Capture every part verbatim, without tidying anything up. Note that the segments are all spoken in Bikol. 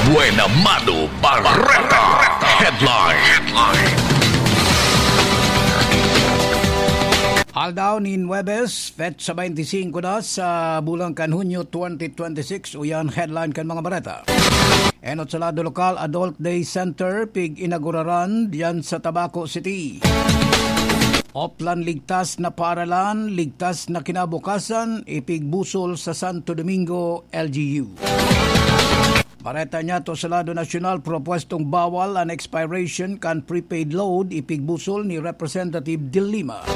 Buena Mano Bareta. Headline. Aldaw nin Huwebes, petsa twenty-five na sa bulan kan Hunyo twenty twenty-six. Uyan headline kan mga bareta. Enot sa lado lokal, Adult Day Center, pig-inaguraran diyan sa Tabaco City. Oplan ligtas na paaralan, ligtas na kinabukasan, ipigbusol sa Santo Domingo, L G U. Bareta niya to sa lado nasyonal, propuestong bawal an expiration kan prepaid load, ipigbusol ni Representative De Lima.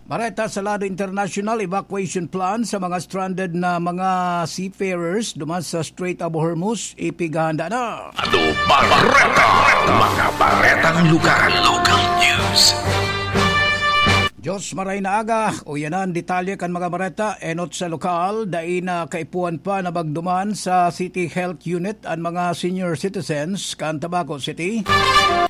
Bareta sa lado internasyonal, evacuation plan sa mga stranded na mga seafarers duman sa Strait of Hormuz, ipighahanda na. Ado Bareta, mga baretang lugar, local news. Diyos maray na aga, uyanan detalye kan mga bareta, enot sa lokal, dai na kaipuhan pa na magduman sa City Health Unit an mga senior citizens kan Tabaco City.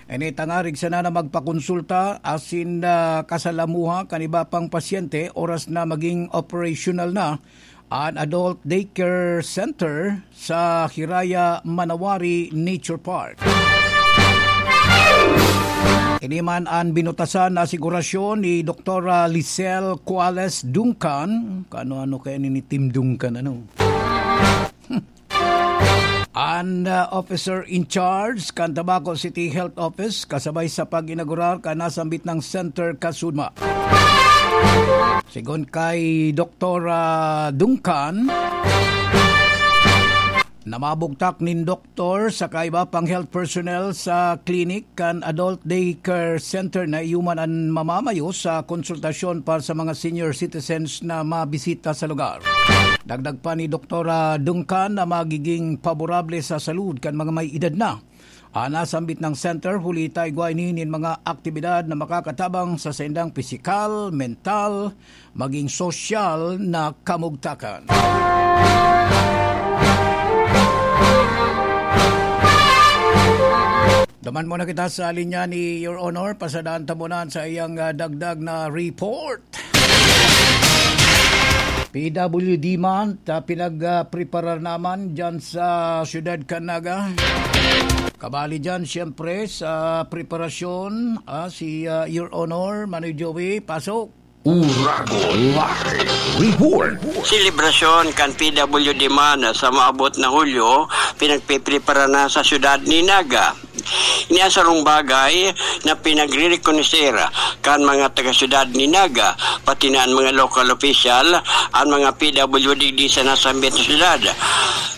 Ini tangarig sana na magpakonsulta asin, ah, kasalamuha kan iba pang pasyente oras na maging operational na an Adult Daycare Center sa Hiraya Manawari Nature Park. Ini man an binutasan na asigurasyon ni Doktora Lisel Cuales Duncan. Kano-ano kaya ni Tim Duncan, ano? An, uh, officer in charge kan Tabaco City Health Office kasabay sa pag-inaugurar kan nasambit na center kasudma. Sigon kay Doktora Duncan, na mabugtak nin doktor saka iba pang health personnel sa clinic kan Adult Daycare Center na iyo man an mamamayo sa konsultasyon para sa mga senior citizens na mabisita sa lugar. Dagdag pa ni Doktora Duncan na magiging paborable sa salud kan mga may edad na an nasambit na center, huli ta igwa ini nin mga aktibidad na makakatabang sa saindang pisikal, mental, maging sosyal na kamugtakan. Duman muna kita sa linya ni Your Honor. Pasadaan ta muna sa iyang, ah, dagdag na report. P W D month, ah, pinag, ah, preparar naman dyan sa siyudad kan Naga. Kabali dyan, siyempre, sa preparasyon, ah, si, ah, Your Honor, Manoy Joey, pasok. Uragon Live Report. Selebrasyon kan P W D month sa maabot na Hulyo, pinagpiprepara na sa siyudad ni Naga. Ini an sarong bagay na pinagrerekonoser kan mga taga-syudad ni Naga, pati na an mga local official, an mga P W D digdi sa nasambit na syudad.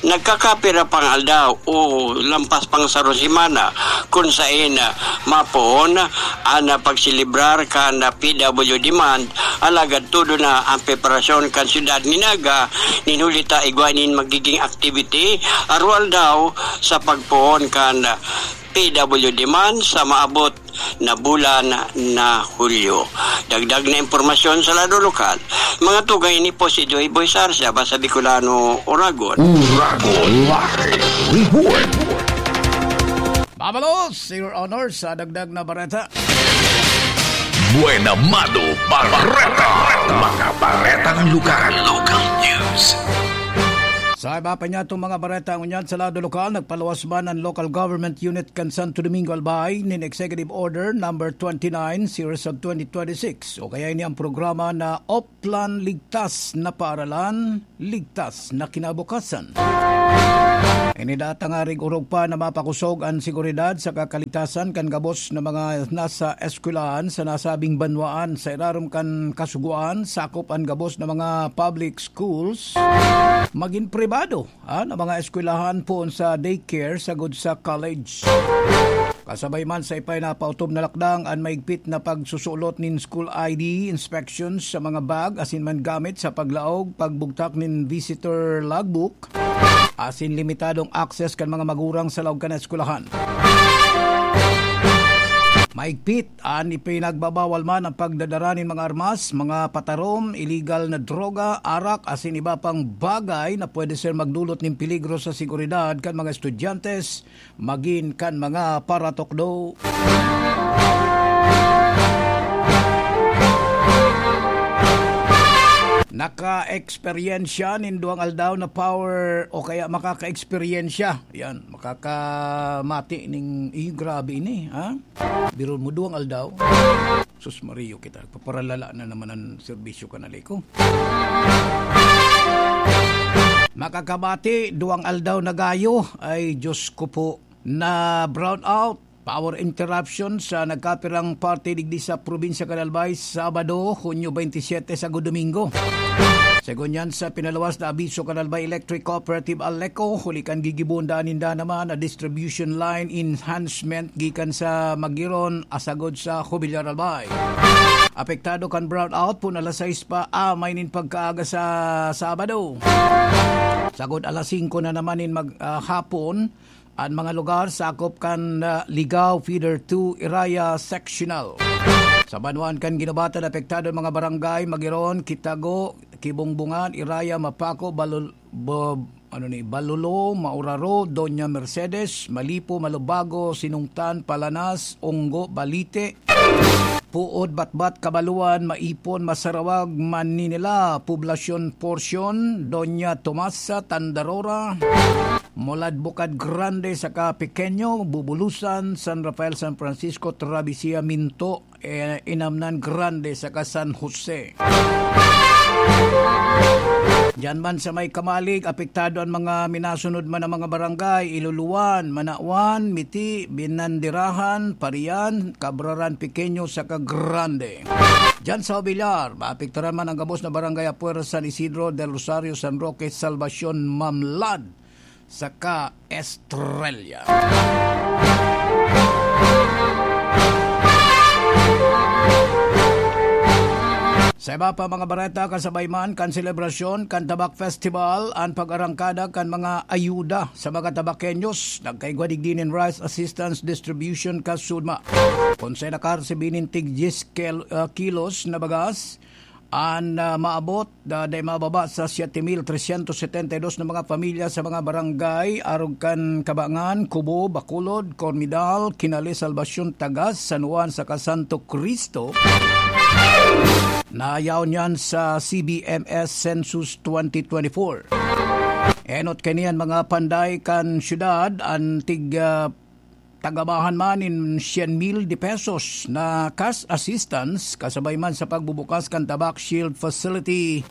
Nagkakapira pang aldaw o lampas pang sarong semana kun saen mapoon an pagselebrar kan P W D month, alagad todo na an preparasyon kan syudad ni Naga, nin huli ta igwa nin magiging activity, arog aldaw sa pagpoon kan P W D month sa maabot na bulan na Hulyo. Dagdag na impormasyon sa lado lokal. Mga tugang, ini po si Joy Boy Sarsia, Basa Bicolano, Uragon. Uragon Live Report. Mabalos, Your Honor, sa dagdag na bareta. Buena Mano Bareta. Mga baretang lugar, local news. Sa iba pa niya itong mga bareta, ngunyan sa lado lokal, nagpaluwas man ang Local Government Unit kan Santo Domingo, Albay, nin Executive Order number twenty-nine, Series of twenty twenty-six, o kaya ini ang programa na Oplan Ligtas na Paaralan, Ligtas na Kinabukasan. Ini datang arig orog pa na mapakosog an seguridad saka kaligtasan kan gabos na mga nasa eskwelahan sa nasabing banwaan. Sa irarom kan kasugoan, sakop an gabos na mga public schools, magin pribado, ah, na mga eskwelahan poon sa daycare sagod sa college. Kasabay man sa ipinapautob na lakdang an maigpit na pagsusulot nin school I D, inspections sa mga bag asin man gamit sa paglaog, pagbugtak nin visitor logbook, asin limitadong access kan mga magurang sa laog kan eskwelahan. Maigpit an ipinagbabawal man ang pagdadara nin mga armas, mga patarom, iligal na droga, arak, asin iba pang bagay na pwede ser magdulot nin peligro sa seguridad kan mga estudyante, magin kan mga paratukdo. Naka-eksperyensya nin duwang aldaw na power o kaya makaka-eksperyensya. Yan, makakamati ning, "Eh, grabe ini, ha?" Biro mo, duwang aldaw. Sus Mario kita, paparalala na naman ang serbisyo ka na, Leko. Makakamati, duwang aldaw na gayo. Ay, Diyos ko po, na brownout. Power interruption sa nagkapirang parte digdi sa probinsya kan Albay, Sabado, Hunyo twenty-seven, sagod Domingo. Segun yan sa pinaluwas na abiso kan Albay Electric Cooperative, Aleco, huli kan gigibohon daan ninda naman na distribution line enhancement gikan sa Magiron, asagod sa Jubilar, Albay. Apektado kan brownout pun alas sais pa amay nin pagkaaga sa Sabado. Sagod alas singko na naman nin mag-, ah, hapon, an mga lugar sakop kan, ah, Ligao Feeder two Iraya Sectional. Sa banwaan kan Guinobatan, apektado an mga barangay Magiron, Kitago, Kibongbongan, Iraya, Mapaco, Balul-, Bo-, ano ni, Balulo, Mauraro, Doña Mercedes, Malipo, Malubago, Sinungtan, Palanas, Onggo, Balite, Puod, Batbat, Kabaluan, Maipon, Masarawag, Maninila, Poblacion Porcion, Doña Tomasa, Tandarora, Molad, Bukad Grande saka Pequeño, Bubulusan, San Rafael, San Francisco, Traviesia, Minto, eh, Inamnan Grande saka San Jose. Diyan man sa may Kamalig, apektado an mga minasunod man na mga barangay, Iluluan, Manawan, Miti, Binandirahan, Parian, Cabraran Pequeño, saka Grande. Diyan sa Obillar, maapektaran man ang gabos na barangay, Apuera, San Isidro, Del Rosario, San Roque, Salvacion, Mamlad, saka Estrella. Sa iba pa mga bareta, kasabay man kan selebrasyon kan Tabak Festival, an pag-arangkada kan mga ayuda sa mga Tabakenyos, nagkaigwa digdi nin rice assistance distribution kan SODMA. Kun sa nakaresibi nin tig diyes kel-, ah, kilos na bagas, an, ah, maabot, ah, dai mababa sa siete mil tresyentos setenta y dos na mga pamilya sa mga barangay, arog kan Cabangan, Cobo, Bacolod, Cormidal, Kinale, Salvacion, Tagas, San Juan, saka Santo Cristo. Nayaon yan sa C B M S Census twenty twenty-four. Enot kaini an mga panday kan syudad, an tig, ah, tagabahan man nin syen mil de pesos na cash assistance, kasabay man sa pagbubukas kan Tabak Shield Facility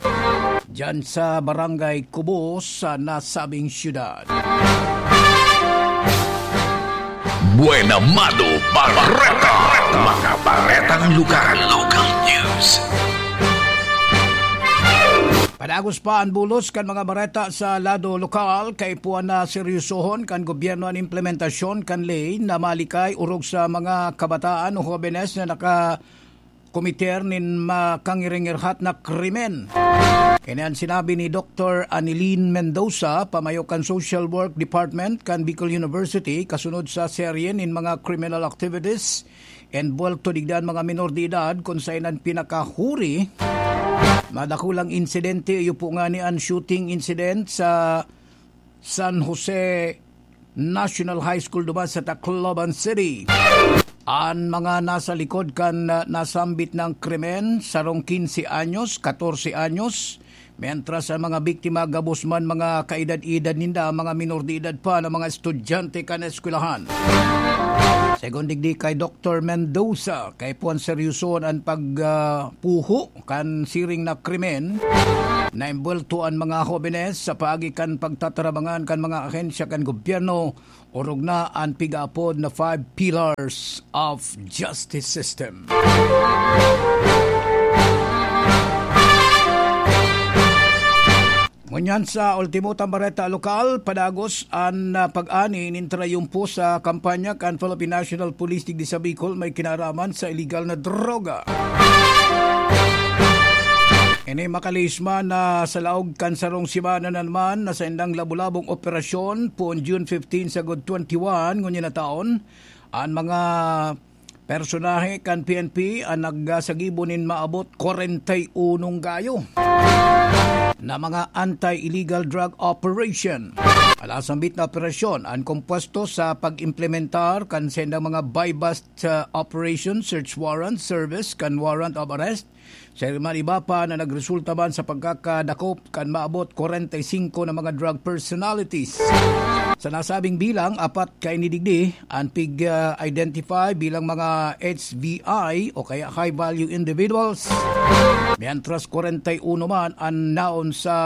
diyan sa Barangay Cobo sa nasabing syudad. Buena Mano Bareta. Mga baretang lugar. Local news. Padagos pa an bulos kan mga bareta sa lado lokal, kaipuhan na seryosohon kan gobyerno an implementasyon kan ley na malikay orog sa mga kabataan o hobenes na nakakomiter nin makangiringirhat na krimen. Ini an sinabi ni Doktor Anilin Mendoza, pamayo kan Social Work Department kan Bicol University, kasunod sa serye nin mga criminal activities enbuwelto digdi an mga menor de edad, kun saen an pinakahuri na dakulang insidente iyo po ngani an shooting incident sa San Jose National High School duman sa Tacloban City. An mga nasa likod kan, ah, nasambit na krimen, sarong quince anyos, catorce anyos, mientras ang mga biktima gabos man mga kaedad-edad ninda, mga minor de edad pa na mga estudyante kan eskwelahan. Segun digdi kay Doktor Mendoza, kaipuhan seryosohon an pag, ah, puho kan siring na krimen na embuwelto an mga hobenes sa paagi kan pagtatarabangan kan mga ahensya kan gobyerno, orog na an pigaapod na five pillars of justice system. Ngunyan sa ultimo tang bareta lokal, padagos an, ah, pag-ani nin trayumpo sa kampanya kan Philippine National Police digdi sa Bicol may kinaraman sa iligal na droga. Ini makalihis man na sa laog kan sarong semana na naman na saindang labo-labong operasyon, poon June fifteen sagod twenty-one ngunyan na taon, an mga personahe kan P N P an nagsagibo nin maabot kwarenta y unong gayo na mga anti-illegal drug operation. Alasambit na operasyon an kompuesto sa pag-implementar kan sendang mga buy-bust, ah, operation, search warrant, service kan warrant of arrest, sa man iba pa na nagresulta man sa pagkakadakop kan maabot kwarenta y singko na mga drug personalities. Sa nasabing bilang, apat kaini digdi an pig-identify bilang mga H V I o kaya high-value individuals, mientras kwarenta y uno man an naon sa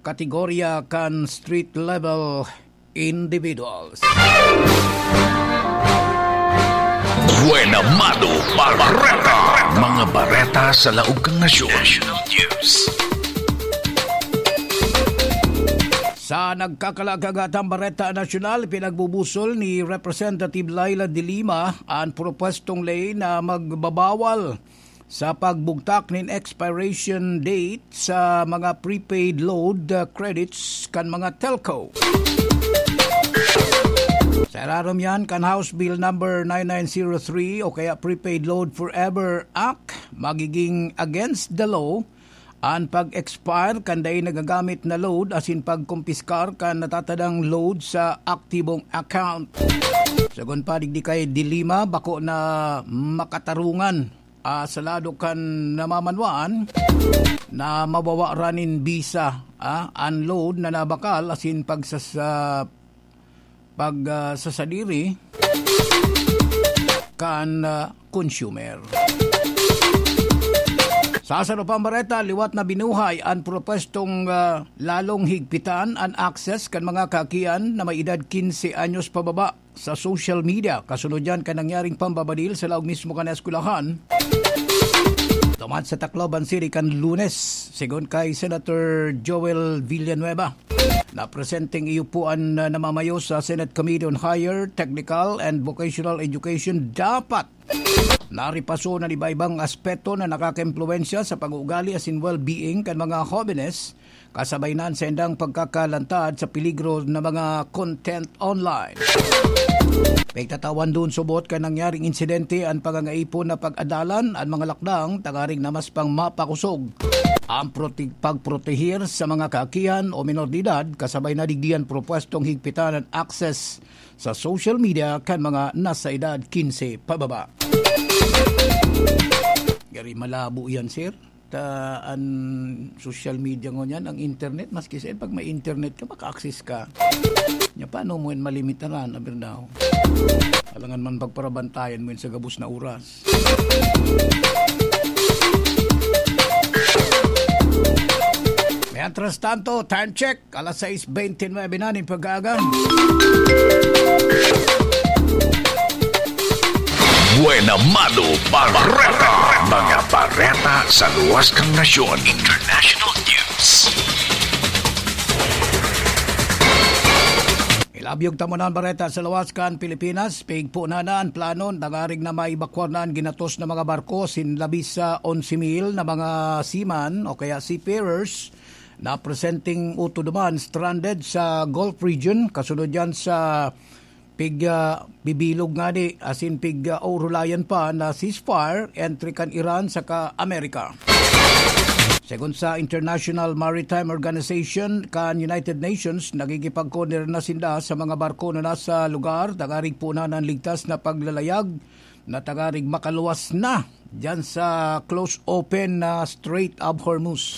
kategorya kan street-level individuals. Buena Mano Bareta. Mga bareta sa laog kan nasyon. National News. Sa nagkakalaaghatang bareta nasyonal, pinagbubusol ni Representative Leila de Lima an propwestong ley na magbabawal sa pagbugtak nin expiration date sa mga prepaid load, uh, credits kan mga telco. Sa irarom yan kan House Bill Number nine nine zero three o kaya Prepaid Load Forever Act, magiging against the law an pag-expire kan dai nagagamit na load asin pagkumpiskar kan natatadang load sa aktibong account. Sagon pa digdi kay de Lima, bako na makatarungan, ah, sa lado kan namamanwaan na mabawaran nin bisa, ah, an load na nabakal asin pagsasa-, pag, ah, sasadiri kan, ah, consumer. Sa sarupang bareta, liwat na binuhay an propwestong, ah, lalong higpitan an access kan mga kakian na may edad quince anyos pababa sa social media, kasunod yan kan nangyaring pambabadil sa laog mismo kan eskwelahan. Duman sa Tacloban City kan Lunes, sigon kay Senator Joel Villanueva. Napresenteng iyo po an, uh, namamayo sa Senate Committee on Higher, Technical and Vocational Education dapat naripaso na iba-ibang aspeto na nakakaimpluwensya sa pag-uugali asin well-being kan mga hobenes, kasabay na an saindang pagkakalantad sa peligro na mga content online. Pigtatawan dun subot kan nangyaring insidente an pangangaipon na pag-adalan an mga lakdang tangaring na mas pang mapakosog ang prote-, pagprotehir sa mga kaakihan o minor de edad, kasabay na digdi an propwestong higpitan an access sa social media kan mga nasa edad quince pababa. Gari malabo yan, sir. Ta an social media ngunyan, ang internet, maski saan, pag may internet ka, maka-access ka. Nya, paano mo yan malimitaran, aber daw? Alangan man pagparabantayan mo yan sa gabos na oras. Mientras tanto, time check, alas sais bentynwebe na nin pag-aaga. Buena Mano Bareta. Mga bareta sa luwas kan nasyon. International News. Ilabyog ta muna an bareta sa luwas kan Pilipinas. Pigpo na na an plano, tangaring na maibakwar na an ginatos na mga barko, sin labis sa onse mil na mga seaman o kaya seafarers na presenteng utod duman stranded sa Gulf region, kasunod yan sa pig, ah, bibilog ngani asin pig, ah, orulayan pa na ceasefire entre kan Iran saka Amerika. Segun sa International Maritime Organization kan United Nations, nagigipagkoordinar na sinda sa mga barko na nasa lugar, tangaring poonan an ligtas na paglalayag na tangaring makaluwas na diyan sa close open na Strait of Hormuz.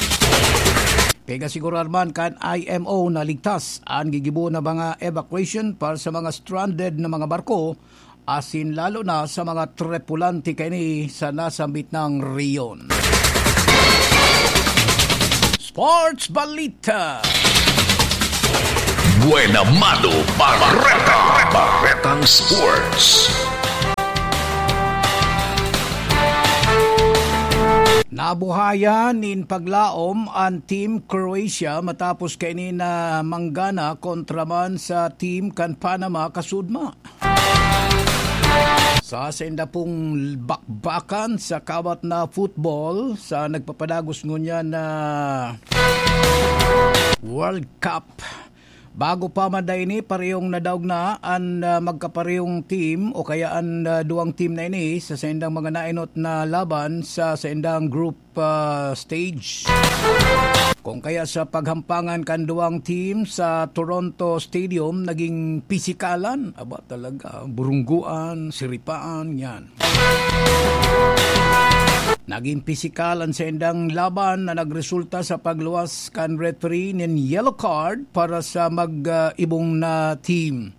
Pig-asigurar man kan I M O na ligtas an gigibo na mga evacuation para sa mga stranded na mga barko, asin lalo na sa mga tripulante kaini sa nasambit na rehiyon. Sports Balita. Buena Mano Bareta. Baretang Sports. Nabuhayan nin paglaom an Team Croatia matapos kaini na manggana kontra man sa team kan Panama kasudma. Sa sainda pong bakbakan sa kawat na football, sa nagpapadagos ngunyan na World Cup, Bago pa man da ini, parehong nadaog na an, ah, magkaparehong team o kaya an, ah, duwang team na ini sa saindang mga naenot na laban sa saindang group, ah, stage. Kung kaya sa paghampangan kan duwang team sa Toronto Stadium, naging pisikalan. Aba, talaga, burungguan, siripaan, yan. Naging pisikal an saindang laban na nagresulta sa pagluwas kan referee nin yellow card para sa mag-ibong na team.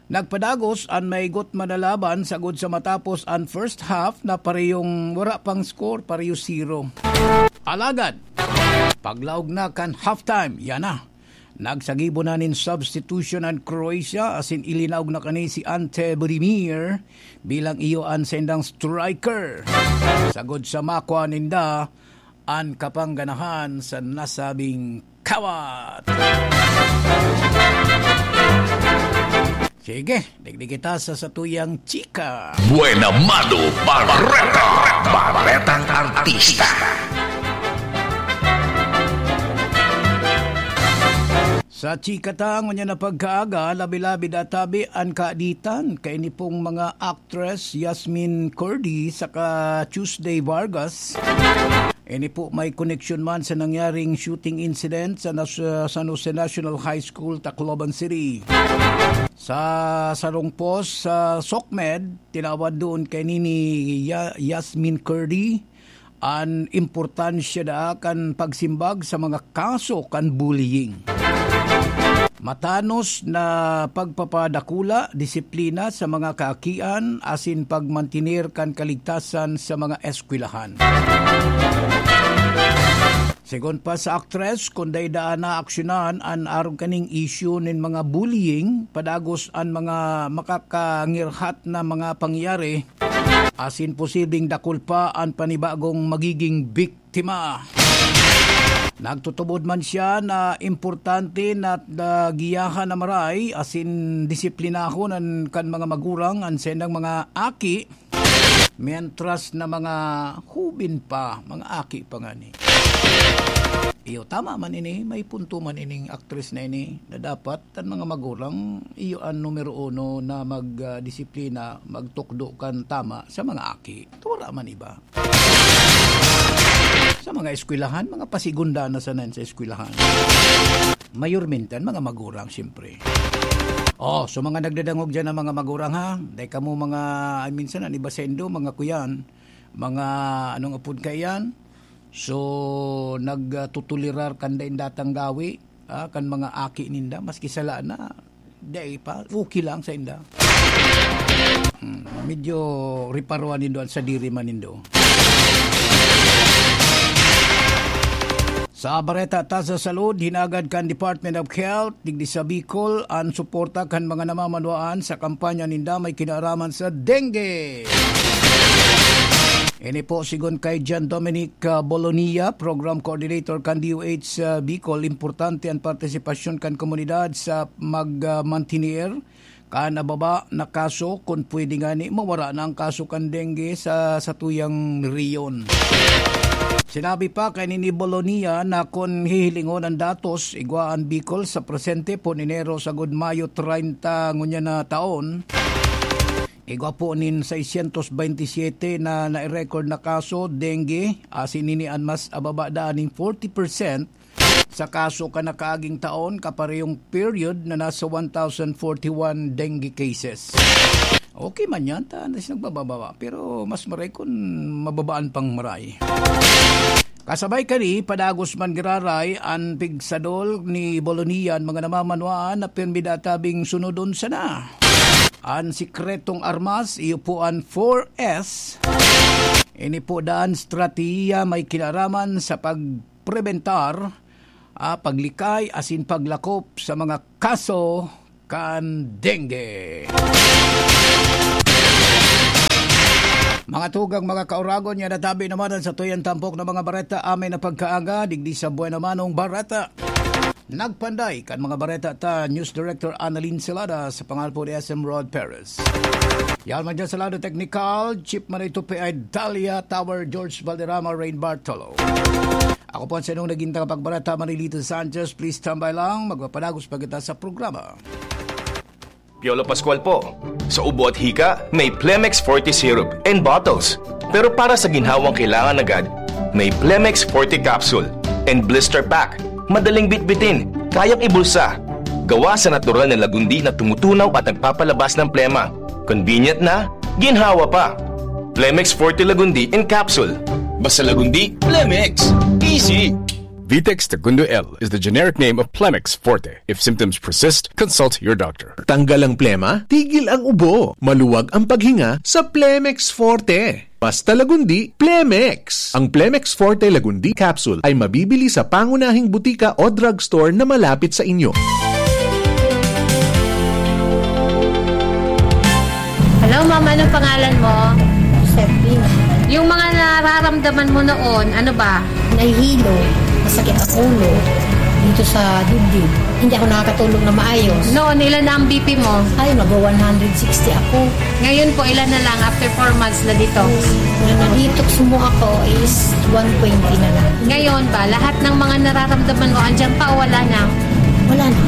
Nagpadagos an maigot man na laban sagod sa matapos an first half na parehong wara pang score, pareho zero. Alagad, paglaog na kan halftime, yan na. Nagsagibo na nin substitution an Croatia, asin ilinaog na kani si Ante Budimir bilang iyo an saindang striker. Sagod sa makwa ninda an kapangganahan sa nasabing kawat. Sige, digdi kita sa satuyang chika. Buena Mano Bareta, Baretang Artista. Sa chika ta ngunyan na pagkaaga, labi-labi databi an kaaditan kaini pong mga actress Yasmin Curdy saka Tuesday Vargas. Ini po may koneksyon man sa nangyaring shooting incident sa Nas-, San Jose National High School, Tacloban City. Sa sarong post sa SOCMED, tinawad doon kay nini Ya-, Yasmin Curdy an importansya daa kan pagsimbag sa mga kaso kan bullying. Matanos na pagpapadakula, disiplina sa mga kaakian asin pagmantener kan kaligtasan sa mga eskwelahan. Segun pa sa aktres, kun dai daa naaksyonan an arog kaning isyu nin mga bullying, padagos an mga makakangirhat na mga pangyayari, asin posibleng dakul pa an panibagong magiging biktima. Nagtutubod man siya na importante na, na giyahan na maray asin disiplinahon an kan mga magurang an saindang mga aki, mientras na mga hubin pa, mga aki pa ngani. Iyo, tama man ini, may punto man ining aktres na ini, na dapat an mga magurang, iyo an numero uno na mag, ah, disiplina, magtukdo kan tama sa mga aki. Wala man iba. Sa mga eskwelahan, mga pasigunda na sana sa eskwelahan. Mayormente an mga magurang, siyempre. Oh, so mga nagdadangog diyan na mga magurang, ha? Dai kamo mga, ay, minsan, an iba saindo, mga kuyan, mga, anong apod kaiyan? So, nagtutulirar kan dai datang gawi, ah, kan mga aki ninda, maski sala na, dai pa, okay lang sainda. Hmm, medyo reparuan nindo an sadiri man nindo. Sa bareta ta sa salud, hinagad kan Department of Health digdi sa Bicol an suporta kan mga namamanwaan sa kampanya ninda may kinaaraman sa dengue. Ini po, sigon kay John Dominic, ah, Bolonia, Program Coordinator kan D O H sa Bicol, importante an partisipasyon kan komunidad sa mag, ah, mantener kan nababa na kaso, kun pwede ngani mawara na an kaso kan dengue sa satuyang rehiyon. Sinabi pa kaini ni Bolonia na kun hihilingon an datos, igwa an Bicol sa presente, pon Enero sagod Mayo treinta ngunyan na taon, igwa po nin seiscientos veintisiete na nai-record na kaso dengue, asin ini an mas ababa daan nin forty percent sa kaso kan nakaaging taon, kaparehong period na nasa one thousand forty-one dengue cases. Okay man yan, ta, nas nagbababa, pero mas maray kun mababaan pang maray. Kasabay kani, padagos man giraray an pigsadol ni Bolonia an mga namamanwaan na pirmi databing sunodon sana. An sikretong armas, iyo po an four S. Ini po daan estratehiya may kinaraman sa pagprebentar, ah, paglikay asin paglakop sa mga kaso kan dengue. Mga tugang, mga kauragon, yan natabi naman an satuyang tampok na mga bareta. Amay na pagkaaga, digdi sa Buena Manong Bareta. Nagpanday kan mga bareta ta, News Director Annalyn Celada, sa pangalan po ni S M Rod Perez. Yan man dyan sa lado teknikal, Chief Manay Tupi ay Dalia Tower, George Valderrama, Rain Bartolo. Ako po ang sa inyong naging tagapagbarata, Marilito Sanchez. Please stand by lang. Magpapadagos pa kita sa programa. Piolo Pascual po. Sa ubo at hika, may Plemex Forte Syrup and bottles. Pero para sa ginhawang kailangan agad, may Plemex Forte Capsule and Blister Pack. Madaling bitbitin, kayang ibulsa. Gawa sa natural na lagundi na tumutunaw at nagpapalabas ng plema. Convenient na, ginhawa pa. Plemex Forte Lagundi in Capsule. Basta Lagundi, Plemex. Easy. Vitex Segundo L is the generic name of Plemex Forte. If symptoms persist, consult your doctor. Tanggal ang plema, tigil ang ubo. Maluwag ang paghinga sa Plemex Forte. Basta Lagundi, Plemex. Ang Plemex Forte Lagundi Capsule ay mabibili sa pangunahing butika o drugstore na malapit sa inyo. Hello, ma'am. Anong pangalan mo? Serpina. Yung mga nararamdaman mo noon, ano ba? Nahihilo, masakit ang ulo, dito sa dibdib. Hindi ako nakakatulog na maayos. Noon, ilan na ang B P mo? Ay, mag-one hundred sixty ako. Ngayon po, ilan na lang after four months na dito? Na na-detox mo ako is one twenty na lang. Ngayon ba, lahat ng mga nararamdaman mo, andyan pa o wala na? Wala na.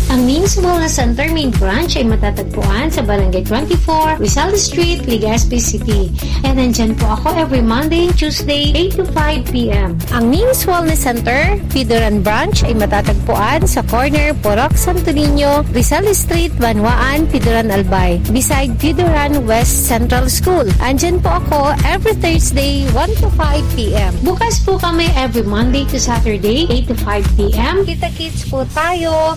Ang Ming's Wellness Center main branch ay matatagpuan sa Barangay twenty-four, Rizal Street, Legazpi City. And nandyan po ako every Monday and Tuesday, eight to five p.m. Ang Ming's Wellness Center, Pidoran Branch, ay matatagpuan sa corner Purok Santo Niño, Rizal Street, Banwaan, Pidoran Albay, beside Pidoran West Central School. Andyan po ako every Thursday, one to five p.m. Bukas po kami every Monday to Saturday, eight to five p.m. Kita-kits po tayo.